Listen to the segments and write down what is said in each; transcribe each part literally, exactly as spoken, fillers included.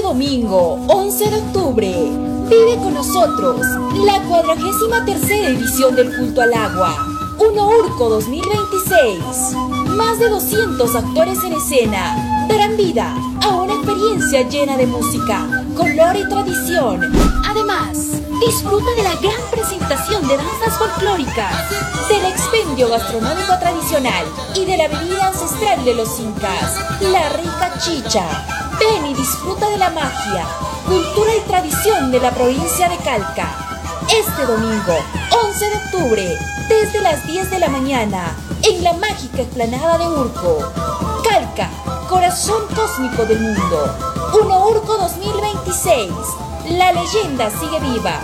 domingo, once de octubre, vive con nosotros la cuadragésima tercera edición del Culto al Agua, Uno Urco dos mil veintiséis. Más de doscientos actores en escena darán vida a una experiencia llena de música, color y tradición. Además, disfruta de la gran presentación de danzas folclóricas, del expendio gastronómico tradicional y de la bebida ancestral de los incas, la rica chicha. Ven y disfruta de la magia, cultura y tradición de la provincia de Calca. Este domingo, once de octubre, desde las diez de la mañana, en la mágica explanada de Urco. Calca, corazón cósmico del mundo. Uno Urco dos mil veintiséis. La leyenda sigue viva.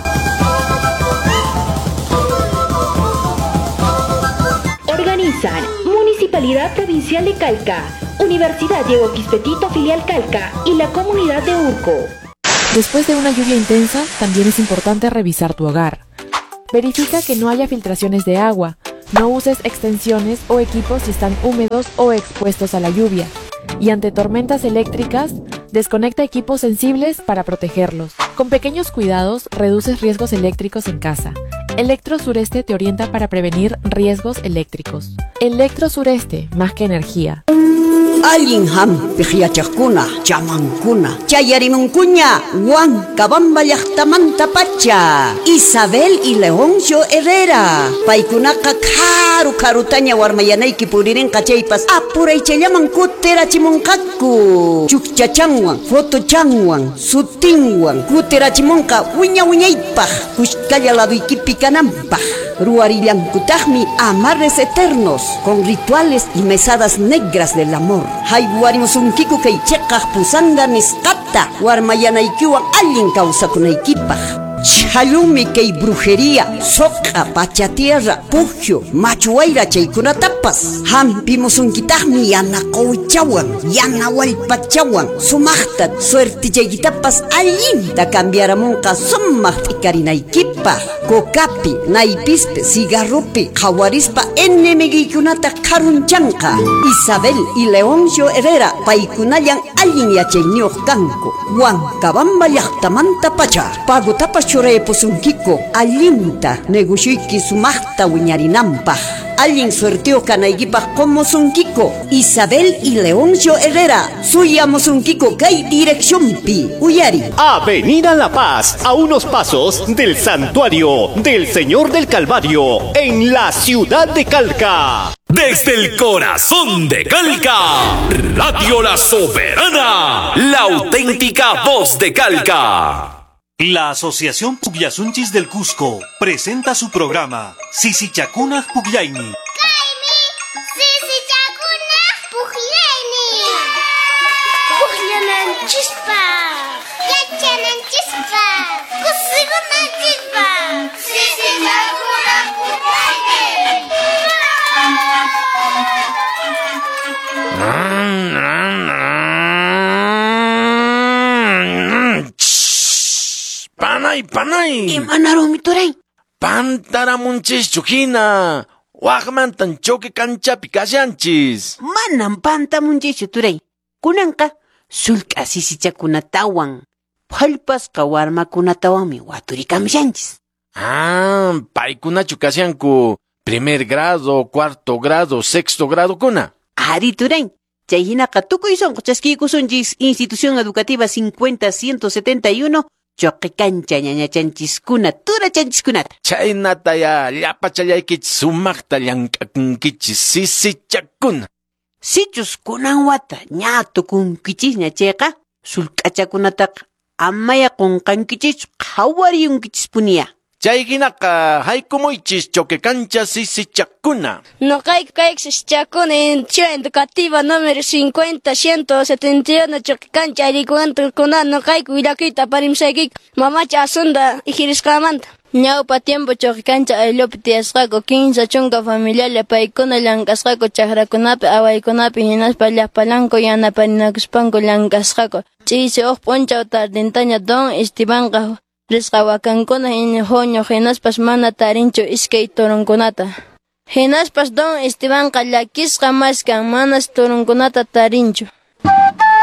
Organizan Municipalidad Provincial de Calca, Universidad Diego Quispe Tito Filial Calca y la Comunidad de Urco. Después de una lluvia intensa, también es importante revisar tu hogar. Verifica que no haya filtraciones de agua. No uses extensiones o equipos si están húmedos o expuestos a la lluvia. Y ante tormentas eléctricas, desconecta equipos sensibles para protegerlos. Con pequeños cuidados, reduces riesgos eléctricos en casa. Electro Sureste te orienta para prevenir riesgos eléctricos. Electro Sureste, más que energía. Allin hampiq yachaqkuna, chamankuna, chayarimunkuña, Huancabamba llaqtamanta pacha, Isabel y Leoncio Herrera, paykunaqa karu karutaña warmayanayki puririnqa chaypas, apuraychallaman kutirachimunqaku, chukchachanwan, fotochanwan, sutinwan, kutirachimunqa wiña wiñaypaq, kushkalla laduykipi kananpaq. Ruarillankutaqmi amarres eternos con rituales y mesadas negras del amor. Haywarimusunkiku kay chiqaq pusanga nisqata warmayanaykiwan allin kawsakunaykipaq. Chalumi kay brujería, soqa, pacha tierra, pujio, machuayra chaykunatapas. Hampimusunkitaqmi yana quwichawan, yana wallpachawan, sumaqta suertichaykitapas allinta cambiaramunqa sumaq t'ikarinaykipaq. Cocapi, naypispi, cigarropi, qhawarispa enemiguykunata qharunchanqa. Isabel y Leoncio Herrera paykunallan allin yachayniyuq kanku. Huancabamba llaqtamanta pacha, pagotapas churaypusunkiko allinta negocioyki sumaqta wiñarinanpaq. Allin suerteo kanaykipaq qomusunkiko Isabel y Leoncio Herrera, suyamusunkiko kay direccionpi. Uyari. Avenida La Paz, a unos pasos del Santuario del Señor del Calvario, en la ciudad de Calca. Desde el corazón de Calca, Radio La Soberana, la auténtica voz de Calca. La Asociación Pugllasunchis del Cusco presenta su programa Sisichakunaj Pugllaini. Kaymi Sisichakunaj Pugllaini. Pugllananchispaq, yachananchispaq, kusikunanchispaq. Sisichakunaj Pugllaini. Panay, panay! Imanarunmi turay? Pantaramunchischu hina! Waqmantan choque kanchapi kashanchis! Manam pantamunchischu turay. Kunanqa sullk'a sisichakunatawan, phallpasqa warmakunatawanmi waturikamushanchis. Ah, paykunachu kashanku primer grado, cuarto grado, sexto grado kuna. Ari turay. Chay hinaqa tukuy sunqu chaskiykusunchis Institución Educativa cincuenta ciento setenta y uno choque cancha ñañachanchiskuna turachanchiskunata. Chaynataya llapachallaykichis sumaqta llank'akunkichis sisichakuna. Sichus kunan wata ña tukunkichisña chayqa sullk'achakunataqa amaya qunqankichischu qhawariyunkichispuniya. Chay hinaqa haykumuychis choque cancha sisichakuna. Noqayku kayku sisichakuna Institución Educativa número cincuenta ciento setenta y uno choque cancha aylluykunata noqayku willakuyta aparimusaykiku mamacha Asunda ijirisqamanta. Ñawpa tiempo choque cancha ayllupi tiyasqaku kinsa chunka familialla paykuna llank'asqaku chakrakunapi awaykunapi hinaspa llaqpallanku yanaparinakuspanku llank'asqaku. Ch'isi huk p'unchaw tardintaña don Estebanqa risqa wakankuna huñuq hinaspas mana tarinchu iskay turunkunata. Hinaspas don Estebanqa llakisqa maskan manas turunkunata tarinchu.